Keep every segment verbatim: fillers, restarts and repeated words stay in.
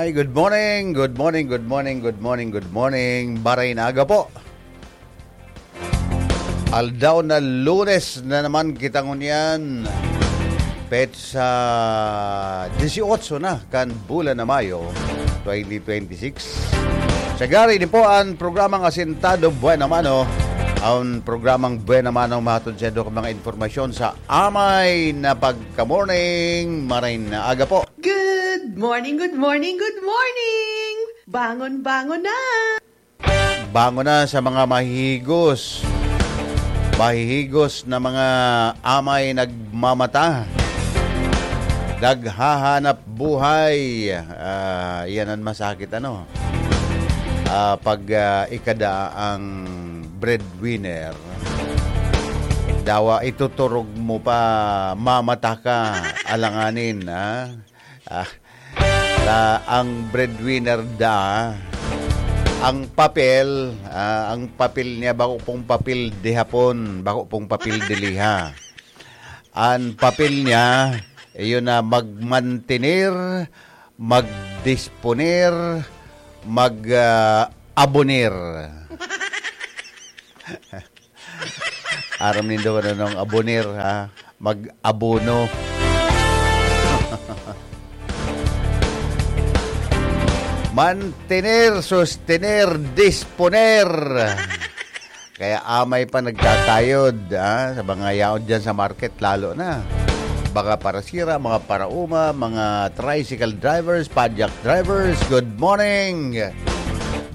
Hey, good morning, good morning, good morning, good morning, good morning. Maray na aga po. Aldaw na Lunes na naman kita ngunyan. Petsa dieciocho na kan bulan na Mayo, twenty twenty-six. Sagari ni po ang programang Asintado Buena Mano. Ang programang Buena Mano mahatod sa mga informasyon sa amay na pagka-morning. Maray na aga po. Good morning, good morning, good morning! Bangon, bangon na! Bangon na sa mga mahihigos. Mahihigos na mga amay nagmamata. Naghahanap buhay. Ah, yan ang masakit, ano? Ah, pag, ah, ikada ang breadwinner, dawa ituturog mo pa, mamata ka, alanganin, ha? Ah, na ang breadwinner da, ang papel, ah, ang papel niya, bako pong papel de hapon, bako pong papel de liha. Ang papel niya, iyon na magmantener, magdisponer, mag, ah, aboner. Aram nindo kung anong aboner, ha? Mag-abono. Mantener, sostener, disponer. Kaya amay pa nagkakayod, ha? Sa mga yaon dyan sa market, lalo na. Mga parasira, mga parauma, mga tricycle drivers, padyak drivers, good morning!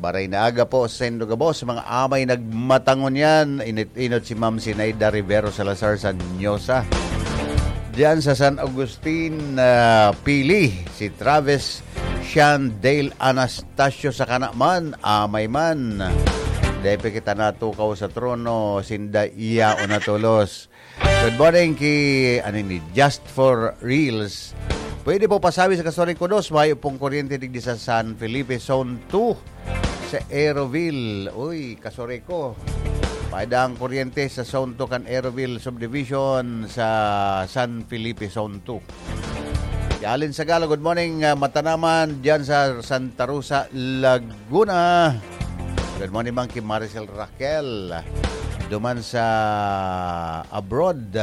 Maray na aga po, sendo gabos, mga amay nagmatangon yan. Init-inot si Ma'am Sinaida Rivero Salazar sa Nyosa. Diyan sa San Agustin, ah, Pili, si Travis Sean Dale Anastasio sa Kanaman, amay man. Dai pa kita natukaw sa trono, sinda iya o natulos. Good morning ki, ano ni, Just for Reels. Pwede po pasabi sa Kasuri ko dos, mayo pong kuryente digdi sa San Felipe Zone two sa Aeroville. Uy, Kasuri ko. Paida ang kuryente sa Zone two kan Aeroville Subdivision sa San Felipe Zone two. Alin Sagala, good morning, ah, Matanaman, diyan sa Santa Rosa, Laguna. Good morning, Mang Kim Maricel Raquel. Duman sa abroad,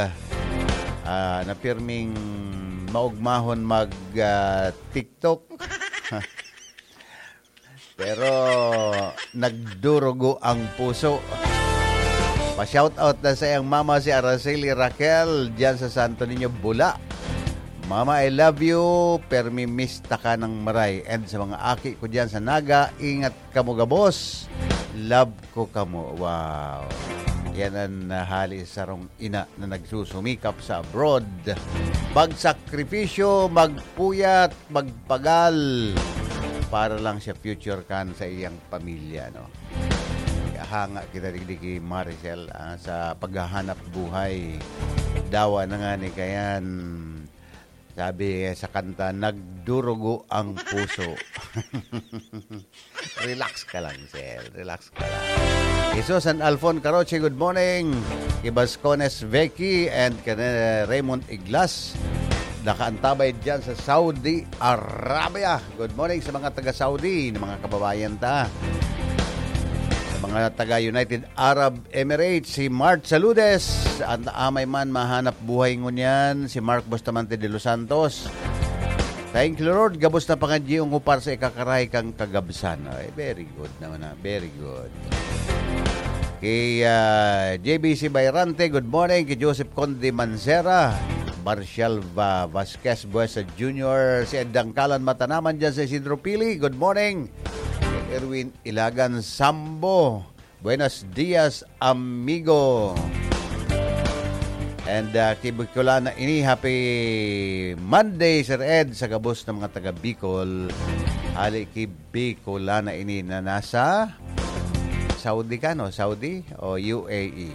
ah, na pirming maugmahon mag, ah, TikTok. Pero nagdurugo ang puso. Pa-shoutout na sa iyang mama, si Araceli Raquel, diyan sa Santo Niño, Bula. Mama, I love you. Permi mista ka ng maray. And sa mga aki ko diyan sa Naga, ingat kamo gabos. Love ko kamo. Wow. Yan ang, ah, hali sa sarong ina na nagsusumikap sa abroad. Magsakripisyo, magpuyat, magpagal para lang sa future kan sa iyang pamilya, no? Kaya hanga kita digdi ki Maricel, ah, sa paghahanap buhay. Dawa na nga ni kayan, sabi sa kanta, "Nagdurugo ang puso." Relax ka lang, sir. Relax ka lang. Iso San Alfon Caroche, good morning. Kay Bascones Vicky and kay Raymond Iglas. Nakaantabay dyan sa Saudi Arabia. Good morning sa mga taga-Saudi na mga kababayan ta. Sa mga taga-United Arab Emirates, si Mart Saludes. Ang amay man mahanap buhay ngunyan, si Mark Bustamante de los Santos. Thank you, Lord. Gabos na pangadyion ko para sa ikakarahay kang kagabsan. Ay, very good naman, ha. Very good. Kay, ah, J B C Bayrante, good morning. Kay Joseph Conde Mancera, Marcial Va-, Vasquez Buesa Junior, si Ed Dangkalan Matanaman dyan sa Isidro Pili, good morning. Kay Erwin Ilagan Sambo, buenos dias, amigo. And, ah, kay Bicolana ini, happy Monday, Sir Ed, sa gabos ng mga taga Bicol. Hali kay Bicolana ini na nasa Saudi ka, no? Saudi o U A E?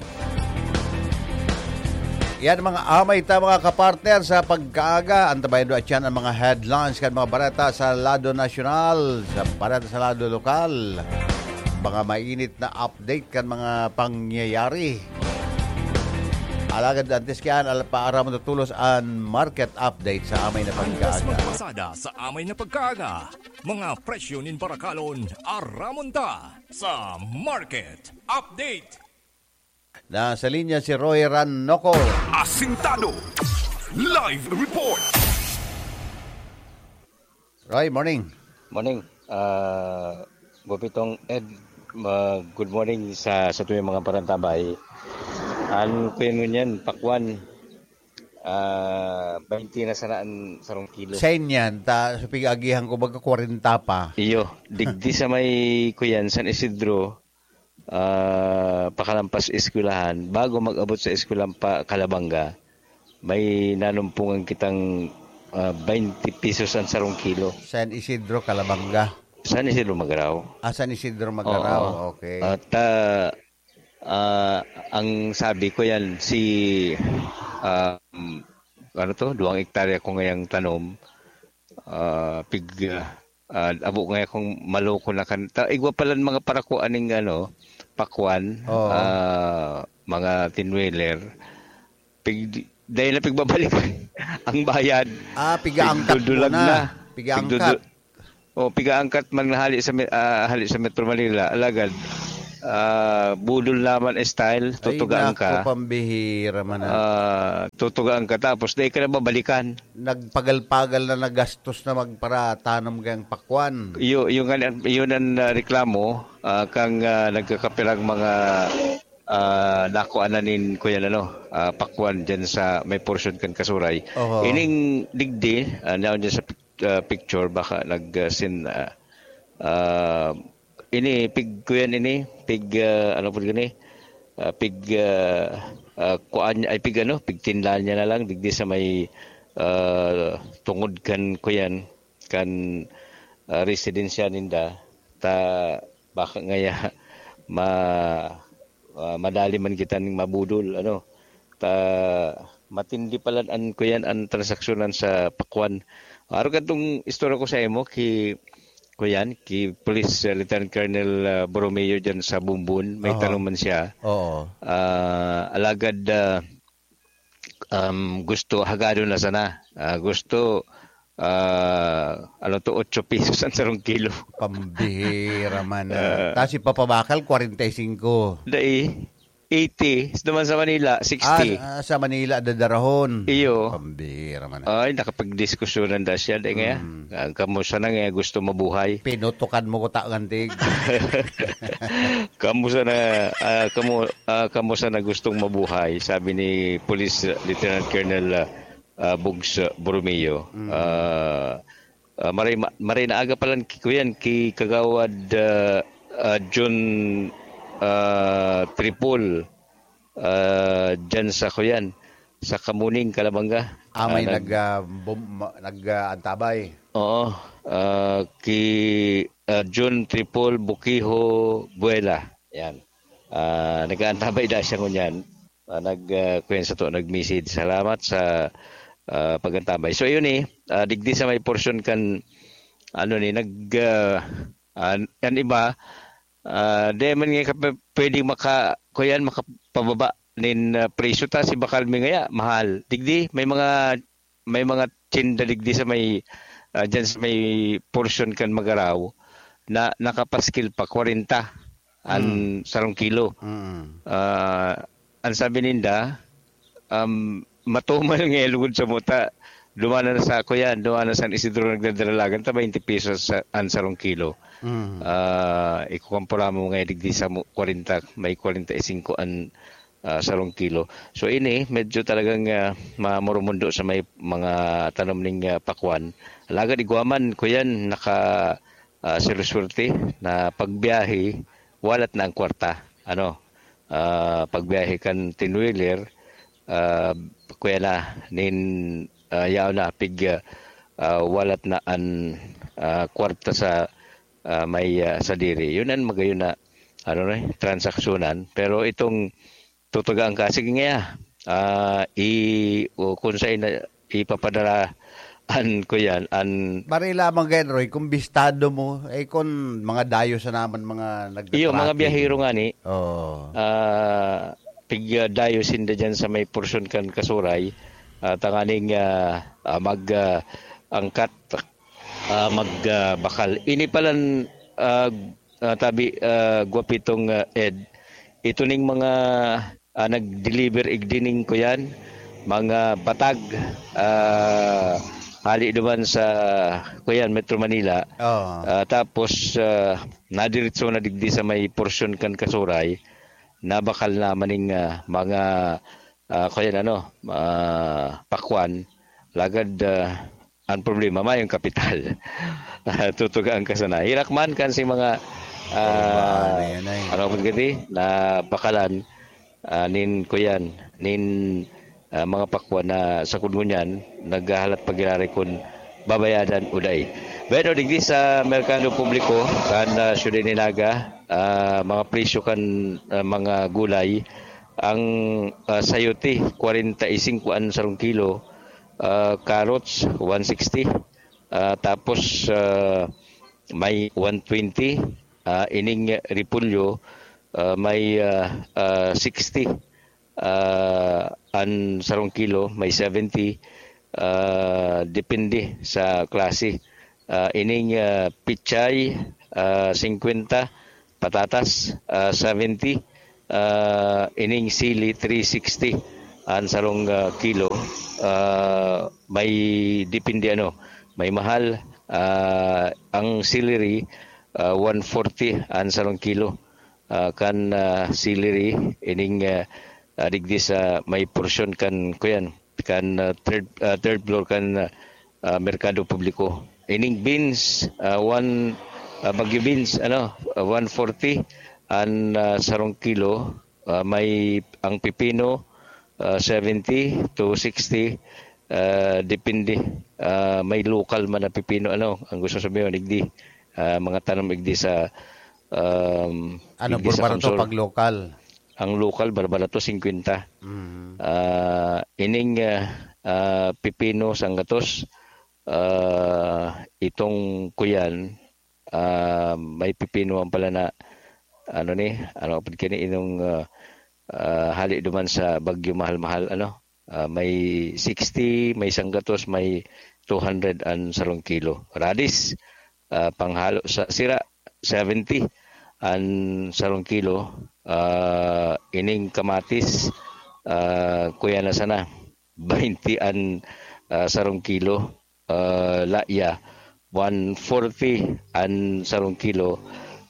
Yan mga amay ta, mga kapartner, sa pagkaaga. Antabayan do atyan ang mga headlines kan mga bareta sa lado nasyonal, sa bareta sa lado lokal. Mga mainit na update kan mga pangyayari. Alagad antes kaya, al-, paara mo tutulos an market update sa amay na pagkaaga. Antes magpasada sa amay na pagkaaga. Mga presyo nin barakalon, aramon ta sa market update. Nasa linya si Roy Ranoco. Asintado. Live report. Roy, morning. Morning. Ah, Bobitong Ed, ah, good morning sa, sa tuyong mga parantabay. An kuya mo niyan, pakwan, ah, twenty na sana an sarong kilo. Sa inyan, ta, sa pig-agihan ko, baga kwarenta pa. Iyo, digdi sa may kuyan, San Isidro, ah, pakalampas eskwelahan, bago mag-abot sa eskwelahan pa Calabanga, may nanumpungan kitang, ah, twenty pesos ang sarong kilo. San Isidro, Calabanga? San Isidro, Magarao. Ah, San Isidro, Magarao. Oo. Okay. At, ah, ah, ang sabi ko yan, si, um, ano to, duwang hektarya ko ngayang tanom, ah, pig, ah, abo nga akong maloko na kan-, ta-, igwa pala ang mga parakuan ning ano, pakwan, Oo. ah, mga tinweler. Pig-, dahil na pigbabalik ang bayad. Ah, pigaangkat Pigdudulag muna. na. Pigaangkat. Pigdudu-, oh, pigaangkat man hali sa me-, ah, hali sa Metro Manila, alagad, ah, budol naman style, Ay, tutugaan nako, ka. pambihira man na. Ah, tutugaan ka, tapos dahil ka na babalikan. Nagpagal-pagal na nagastos na magparatanom kayang pakwan. Iyo, yung, yun ang, ah, reklamo, ah, kang, ah, nagkakapirang mga, ah, nakuha na nin kuya, ano, ah, pakwan dyan sa may portion kan Kasuray. Oho. Ining digdi, ah, naon dyan sa pic-, ah, picture, baka nag, ah, sin-, ah, ah, ini, pig, kuyan ini, pig, ah, ano po gani? Ah, pig, ah, ah, kuan, ay, pig ano, pigtindahan niya na lang, digdi sa may, ah, tungod kan, kuyan, kan, ah, residensya ninda, ta, baka ngaya, ma-, ah, madali man kita ning mabudol, ano. Ta, matindi pala an, kuyan, an transaksyonan sa pakwan. Aro kadtong istorya ko sa imo, ki, kuyan, ki Police, ah, Lieutenant Colonel, ah, Borromeo dyan sa Bumbon, may Aha. tanong man siya. Oo. Ah, alagad, ah, um, gusto, hagado na sana. Ah, gusto, ah, ano to, otso pesos ang sarong kilo. Pambihira man, ah. Ah. Tas ipapabakal, kwarenta y singko. Dai, eighty. Naman sa Manila, sixty. Ah, sa Manila, dadarahon. Iyo. Pambihira man. Ay, nakapagdiskusyonan na siya, dai nga. Mm. Ah, kamo sana nga gusto mabuhay. Pinutukan mo ko ta, ngantig. Kamo sana, ah, kamo, ah, kamo sana gustong mabuhay, sabi ni Police Lieutenant Colonel, ah, ah, Bugs Borromeo. Mm. Ah, ah, maray ma-, maray na aga pa lang ki-, kuyan, ki Kagawad, ah, ah, John, ah, Tripol, ah, dyan sa, kuyan, sa Kamuning, Calabanga. Ah, may Ah, nag- nag, ah, bum-, ma-, nag, ah, antabay. Oo, ah, ki, ah, John Tripol Bukiho Buela. Yan. Ah, nag-aantabay da siya ngunyan. Ah, nag, ah, kuyan sa to, nag-message. Salamat sa, ah, pag-antabay. So, yun eh, ah, digdi sa may portion kan, ano ni, nag, ah, an, an iba, ah, di man nga kap-, pwedeng maka-, kuyan, makapababa nin, ah, presyo ta, si bakal mi ngaya, mahal. Digdi, may mga, may mga tsinda digdi sa may, ah, dyan sa may portion kan Magarao na nakapaskil pa, kwarenta an Mm. sarong kilo. Mm. Ah, ang sabi ninda, um, matumal nga lugod sa muta, dumanan na sa, kuyan, dumanan sa San Isidro nagdadaralagan, ta twenty pesos sa, ang sarong kilo. Mm. Ah, ikukumpara mo nga digdi sa mo, kwarenta, may kwarenta y singko an, ah, sarong kilo. So, ini, medyo talagang, ah, mamurumundo sa may mga tanom ning, ah, pakwan. Alagad igwa man, kuyan, naka, ah, swerte-swerte na pagbiyahe, walat na ang kwarta. Ano? Ah, pagbiyahe kan ten-wheeler, ah, kuya na, nin, ah, yaon na, pig, ah, ah, walat na an, ah, kwarta sa, ah, may, ah, sadiri. Yun ang magayon na, ano na, transaksyonan. Pero itong tutugaan ka, sige nga, ah, i-, o kung saan na ipapadara an, kuyan, an Bari lamang gayon, Roy, kung bistado mo, eh, kung mga dayo sa naman, mga nagta-tracking. Iyo, mga biyahero nga ni. Oo. Ah, pig, ah, dayo sinda dyan sa may porsyon kan Kasuray, ah, tanganing, ah, ah, mag, ah, angkat, ah, magbakal. Ini palan, ah, ah, tabi, ah, Gwapitong, ah, Ed, ito ning mga, ah, nag-deliver igdining kuyan, mga batag, ah, hali duman sa kuyan, Metro Manila. Oo. Ah, tapos, ah, nadiretso na digdi sa may porsyon kan Kasuray, nabakal na maning, ah, mga, ah, kuyan ano, ah, pakwan. Lagad, ah, ang problema, mayong kapital. Tutugaan ka sana. Hirak man kan si mga, ah, Problema na yan ay. ano, pagkati, na bakalan, ah, nin, kuyan, nin, ah, mga pakwan na sa kudngon yan, naghahalat pagirari kun babayadan o dai. Pero digdi sa merkado publiko, kan, ah, Ciudad de Naga, ah, mga presyo kan, ah, mga gulay, ang, ah, sayote, kwarenta y singko an sarong kilo, ah, carrots, one sixty, ah, tapos, ah, may one twenty, ah, ining repolyo, ah, may, ah, ah, sixty, ah, an sarong kilo, may seventy, ah, depende sa klase. Ah, ining, ah, pichay, ah, singkwenta, patatas, ah, seventy, ah, ining sili, three sixty an sarong, ah, kilo. Ah, may depende ano, may mahal, ah, ang celery, ah, one forty an sarong kilo. Ah, kan, ah, celery, ining, ah, ah, digdi sa may porsyon kan, kuyan, kan, ah, third, ah, third floor kan, ah, ah, merkado publiko. Ining beans, ah, one, ah, Baguio beans, ano, ah, one forty an, ah, sarong kilo. Ah, may ang pipino, ah, seventy to sixty, ah, depende. Ah, may lokal man na pipino, ano, ang gusto sabihin, igdi, ah, mga tanom igdi sa, um, Ano, igdi sa barbarato Kamsur. Pag lokal? Ang lokal, barbarato, singkwenta. Mm. Ah, ining, ah, ah, pipino, sanggatos, ah, itong kuyan, ah, may pipino man pala na, ano ni, ano, pag kini inong, ah, ah, hali duman sa Bagyo Mahal-Mahal, ano, ah, may sixty, may sanggatos, may two hundred an sarong kilo. Radis, ah, panghalo sa sira, seventy an sarong kilo. Ah, ining kamatis, ah, kuya na sana, baynte an, ah, sarong kilo. Ah, laya, one forty an sarong kilo.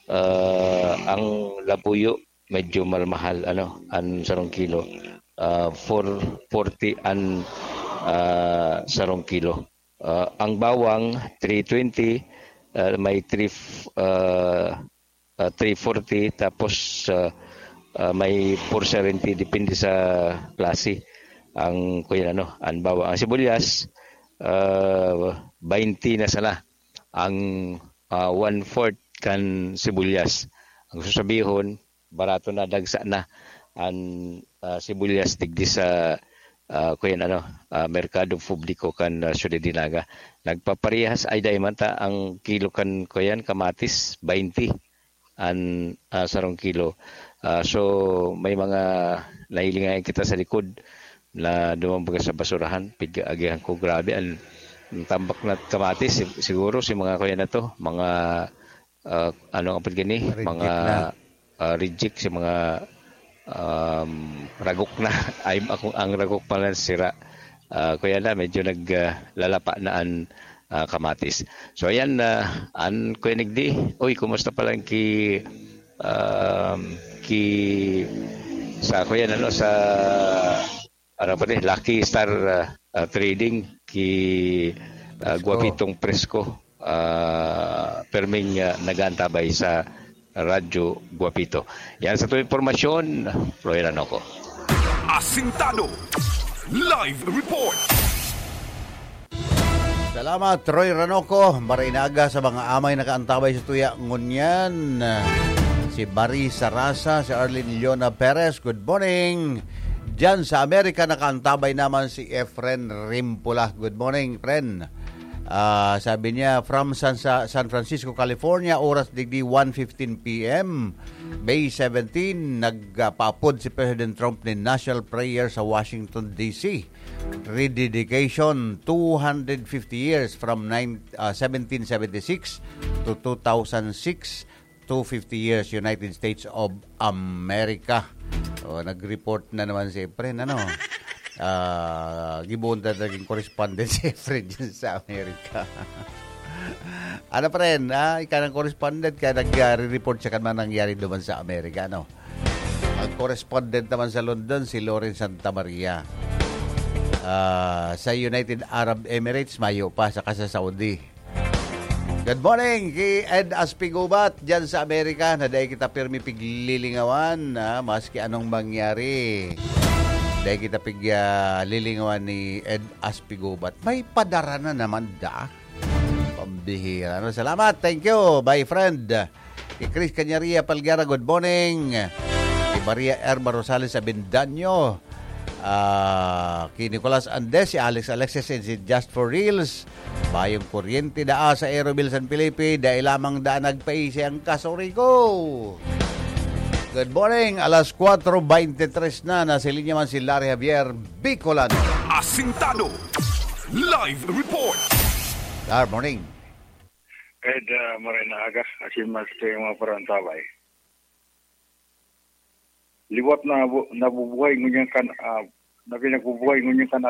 Ah, ang labuyo, medyo mahal-mahal, ano, an sarong kilo. Ah, four forty an, ah, sarong kilo. Ah, ang bawang, three twenty, ah, may three f-, ah, ah, three forty, tapos, ah, ah, may four seventy, depende sa klase. Ang, kuya, ano, ang bawang. Ang sibuyas, ah, baynte na sana ang, ah, one-fourth kan sibuyas. Ang susabihon, barato na, dagsa na an, ah, sibuyas digdi sa, ah, kuyan ano, ah, merkado publiko kan, ah, Ciudad de Naga. Nagpaparehas, ay, dai man ta ang kilo kan, kuyan, kamatis, baynte an, ah, sarong kilo. Ah, so, may mga nahilingayan kita sa likod na dumambaga sa basurahan. Pig-, agihan ko, grabe, an, ang tambak na kamatis, sig-, siguro si mga, kuyan na to, mga, ah, ano ang apod gani? Reject Mga, na. ah, reject, si mga, um, ragok na. Ay, ako, ang ragok pala sira. Ah, kaya na, medyo nag, ah, lalapa na an, ah, kamatis. So, ayan, ah, an Kuya Nigdi. Uy, kumusta pala ki, um, ki, sa, kuya, ano, sa, ano pa ni, Lucky Star, ah, ah, Trading, ki, ah, Presko. Guapitong Presko, ah, perming, ah, nag-aantabay sa Radyo Guapito. Yan sa tuwing impormasyon, Roy Ranoco. Asintado. Live report. Salamat, Roy Ranoco. Marinaga sa mga amay nakaantabay sa tuya ngunyan. Si Bari Sarasa, si Arlene Leona Perez, good morning. Diyan sa Amerika, nakaantabay naman si Efren Rimpula. Good morning, Fren. Ah, sabi niya, from San, sa San Francisco, California, oras digdi one fifteen p m, May seventeen, nagpaapod si President Trump nin national prayer sa Washington, D C. Rededication, two hundred fifty years from nine, ah, seventeen seventy-six to two thousand six, two fifty years, United States of America. O, nag-report na naman si Efren, ano? Ah, gibohon ta naging correspondent si Efren dyan sa Amerika. Ano pa rin, ah, ika ng correspondent, kaya nag-report siya kan mga nangyari naman sa Amerika, ano? Ang correspondent naman sa London, si Loren Santa Maria. Ah, sa United Arab Emirates, mayo pa, saka sa Saudi. Good morning ki Ed Aspigubat diyan sa Amerika, na dai kita pirmi piglilingawan, ah, maski anong mangyari. Dai kita pig, ah, lilingawan ni Ed Aspigubat. May padara na naman da. Pambihira, no? Salamat. Thank you, my friend. Ki Chris Cañaria Palguera, good morning. Ki Maria Erma Rosales Avendaño. Ah, ki Nicolas Andes, si Alex Alexis, and si Just for Reels. Bayong kuryente daa sa Aeroville San Felipe, dai lamang daa nagpaisi ang kasuri ko. Good morning, alas kwatro beintitres na, nasa linya man si Larry Javier, Bicolano. Asintado. Live report. Good morning. Ed, ah, maray na aga, asin mas kayo mga parantabay. Liwat na bu-, nabubuhay ngunyan kan, ah, na pinagbubuhay ngunyan kan